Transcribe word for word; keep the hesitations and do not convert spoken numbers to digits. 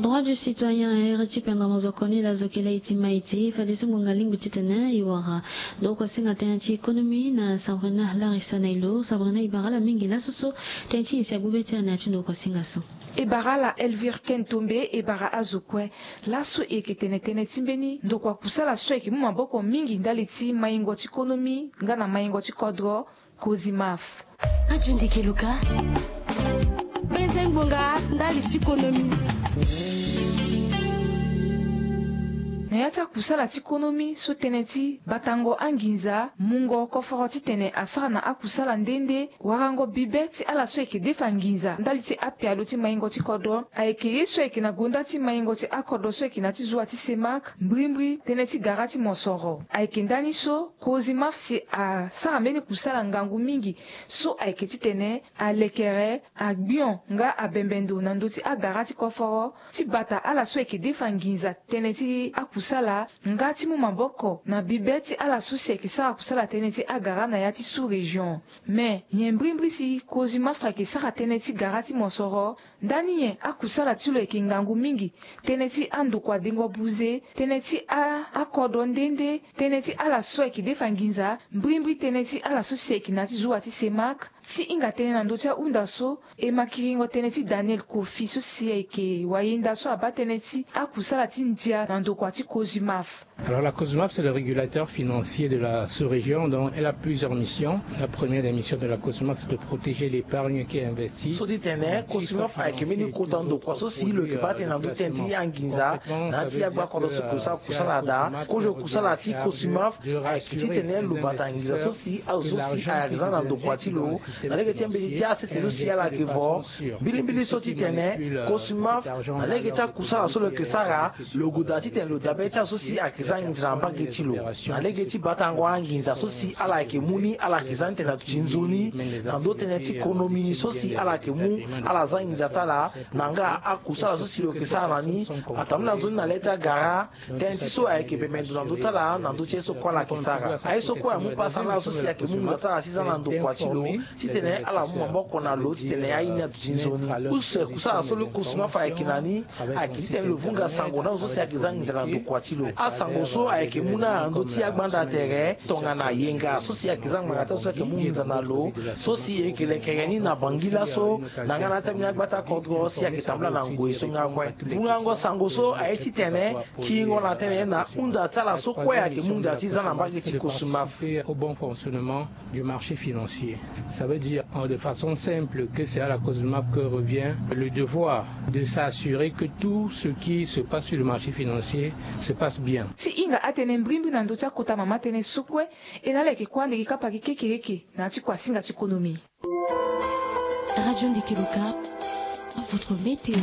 Droit du citoyen, iri ti pendra mozoko ni lazo kele iti ma iti fade so ngonga lingbi titene e wara. Donc wasinga tënë ti économie na Sabrina Larissa Nailo. Sabrina, e bara ala mingi laso so tënë ti nyen si agbu be ti ala na ya ti ndokua singa so? E bara ala Elvire Ken Tombe, e bara azo kue. Laso e yeke tene tënë ti mbeni ndokua kusala so ayeke mu maboko mingi ndali ti maingo ti konomi nga na maingo ti kodro, Cosymaf. Radio Ndeke Luka, penze ngbonga ndali ti konomi. Na ya ti akusala ti konomi so tënë ti batango anginza, mungo koforo titene asara na akusala nde nde, warango bibe ti ala so ayeke defa nginza ndali ti apialo ti maingo ti kodro ayeke ye so ayeke na gonda ti maingo ti akodro so ayeke na ya ti zuwa ti Semak, mbrimbri tënë ti gara ti mosoro. Ayeke ndani so Cosymaf si asara mbeni kusala ngangu mingi so ayeke titene alekere, agbion nga abembe ndo na ndö ti agara ti koforo, ti bata ala so ayeke defa nginza tënë ti akusala, nga ti mu maboko na bibe ti ala so si ayeke sara kusala tënë ti agara na ya ti sous-région. Me nyen mbrimbri si Cosymaf ayeke sara tënë ti gara ti mosoro? Ndani nyen akusala ti lo ayeke ngangu mingi? Tënë ti andokua dengo buze, tënë ti a, akodro nde nde, tënë ti ala so ayeke defa nginza, mbrimbri tënë ti ala so si ayeke na ya ti zuwa ti Semak. Ti hinga tënë na ndö ti ahunda so, e ma kiringo tënë ti Daniel Kofi so si ayeke wayenda so abaa tënë ti akusala ti ndia na ndokua ti Cosymaf. Alors la Cosymaf, c'est le régulateur financier de la sous-région, donc elle a plusieurs missions. La première des missions de la Cosymaf, c'est de protéger l'épargne qui est investie. So ti tene Cosymaf ayeke mbeni kota ndokua so si lo yeke baa tënë na ndö ti tënë ti anginza na ya ti agba kodro so e ke sara kusala daa. Kozo kusala ti Cosymaf ayeke titene lo bata nginza so si azo so si ayeke za na ndokua ti lo na lege ti ambeti ti asese so si ala yeke vo. Mbilimbili so titene Cosymaf na lege ti akusala so lo yeke sara, lo goda titene lo dabe ti azo so si ayeke za nginza na mbage ti lo. Na lege ti batango anginza so si ala yeke mu ni, ala yeke za ni tene na duti nzoni na ndö tënë ti konomi so si ala yeke mu, ala za nginza ti ala. Na nga akusala so si lo yeke sara na ni, atambula nzoni na le ti agara, tënë ti so ayeke bembe ndo na ndö ti ala na ndö ti ye so kue ala yeke sara. Aye so kue amu pasa na ala so si ayeke mu nginza ti ala ti za na ndokua ti lo titene ala mu maboko na lo titene aye ni aduti nzoni. Use kusala so lo Cosymaf ayeke na ni ayeke titene lo vunga sango na azo so si ayeke za nginza na ndokua ti lo. Asango so ayeke mu na ndö ti agbanda tere tongana yenga so si ayeke za ngbanga ti azo so ayeke mu nginza na lo, so si e yeke lekere ni na Bangi laso, na nga na ya ti ambeni agba ti akodro si ayeke tambula na ngoi so nga kue. Vungango sango so aye titene kiringo na tënë na hunda ti ala so kue ayeke mu nginza ti za na mbage ti Cosymaf. Au bon fonctionnement du marché financier. Ça veut dire, en, de façon simple, que c'est à la Cosymaf que revient le devoir de s'assurer que tout ce qui se passe sur le marché financier se passe bien. Ti hinga atënë mbrimbri na ndö ti akota mama tënë so kue, e na ala yeke kue ande gi kapa gi kekereke na ya ti kuasinga ti konomi. Radio Ndeke Luka, votre météo.